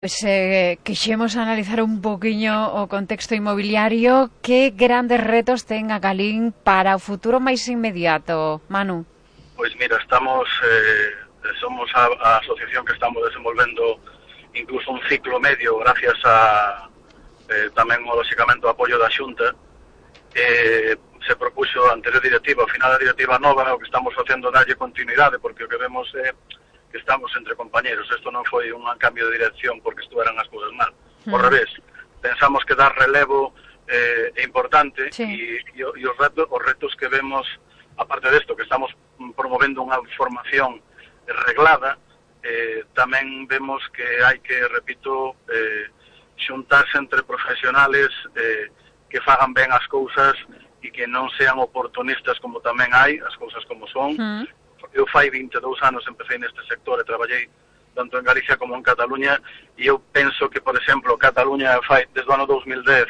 Pois quixemos analizar un poquinho o contexto inmobiliario. Que grandes retos ten a Galín para o futuro máis inmediato, Manu? Pois mira, somos a asociación que estamos desenvolvendo incluso un ciclo medio gracias a tamén, lógicamente, o apoio da Xunta. Se propuxo a anterior directiva, ao final da directiva nova, o que estamos facendo darlle continuidade, porque o que vemos é que estamos entre compañeros. Isto non foi un cambio de dirección porque estuveran as cousas mal. Ao revés, pensamos que dar relevo é importante, e os retos que vemos, aparte desto, que estamos promovendo unha formación reglada, tamén vemos que hai que, repito, xuntarse entre profesionales que fagan ben as cousas e que non sean oportunistas, como tamén hai, as cousas como son. Eu fai 22 anos empecé neste sector e traballei tanto en Galicia como en Cataluña, e eu penso que, por exemplo, Cataluña fai desde o ano 2010,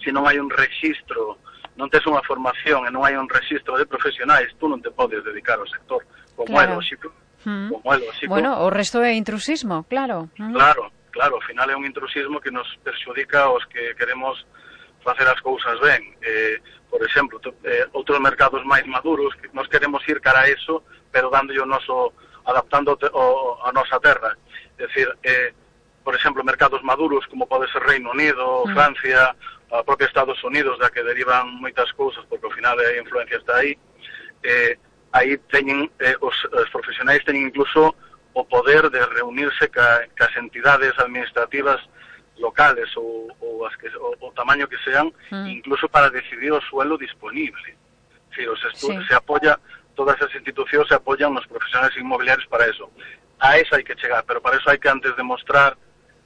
se non hai un registro, non tes unha formación e non hai un registro de profesionais, tú non te podes dedicar ao sector, como é lógico. Bueno, o resto é intrusismo, claro. Claro, ao final é un intrusismo que nos perxudica aos que queremos facer as cousas ben. Por exemplo, outros mercados máis maduros, que nos queremos ir cara a eso, pero dándolle o noso, adaptando a nosa terra. É dicir, por exemplo, mercados maduros como pode ser Reino Unido, Francia, a propia Estados Unidos, da que derivan moitas cousas, porque ao final a influencia está aí. Aí teñen, os profesionais teñen incluso o poder de reunirse cas entidades administrativas locales ou o tamaño que sean, incluso para decidir o suelo disponible. Es decir, se apoya, todas as institucións se apoyan nos profesionales inmobiliarios para eso. A eso hai que chegar, pero para eso hai que antes demostrar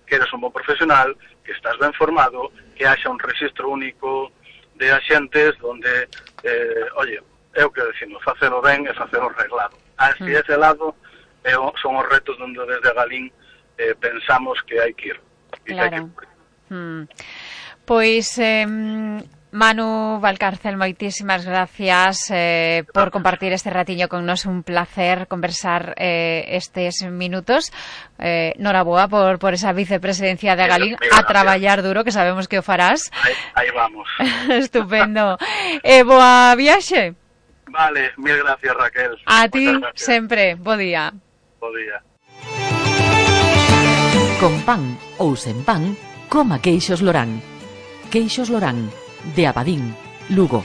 que eres un bon profesional, que estás ben formado, que haxa un registro único de axentes donde, é o que decimos, facelo ben e facelo reglado. Así ese lado son os retos onde desde Galín pensamos que hai que ir. Claro. Pois Manu Valcárcel, moitísimas gracias por compartir este ratiño con nos. Un placer conversar estes minutos. Noraboa por esa vicepresidencia de Galín, a traballar duro, que sabemos que o farás. Aí vamos. Estupendo. Boa viaxe. Vale, mil gracias, Raquel. A ti sempre. Bo día. Bo día. Con pan ou sen pan, coma queixos Lorán. Queixos Lorán, de Abadín, Lugo.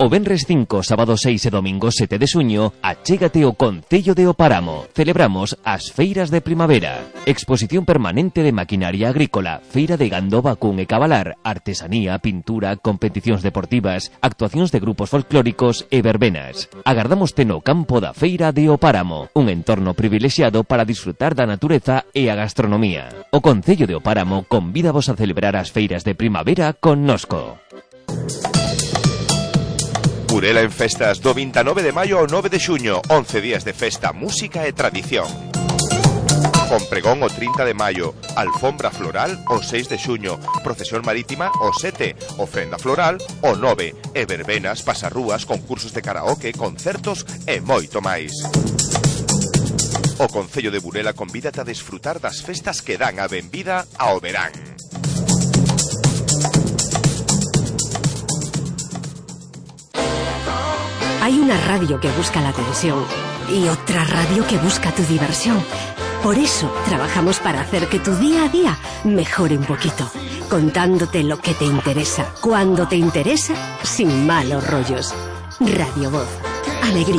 O venres 5, sábado 6 e domingo 7 de xuño, achégate ao Concello de O Páramo. Celebramos as feiras de primavera. Exposición permanente de maquinaria agrícola, feira de gando, vacún e cabalar, artesanía, pintura, competicións deportivas, actuacións de grupos folclóricos e verbenas. Agardámoste no campo da feira de O Páramo, un entorno privilexiado para disfrutar da natureza e a gastronomía. O Concello de O Páramo convídavos a celebrar as feiras de primavera connosco. Burela en festas do 29 de maio ao 9 de xuño, 11 días de festa, música e tradición. Con pregón o 30 de maio, alfombra floral o 6 de xuño, procesión marítima o 7, ofrenda floral o 9, e verbenas, pasarrúas, concursos de karaoke, concertos e moito máis. O Concello de Burela convídate a desfrutar das festas que dan a benvida ao verán. Hay una radio que busca la atención y otra radio que busca tu diversión. Por eso trabajamos para hacer que tu día a día mejore un poquito, contándote lo que te interesa, cuando te interesa, sin malos rollos. Radio Voz, alegría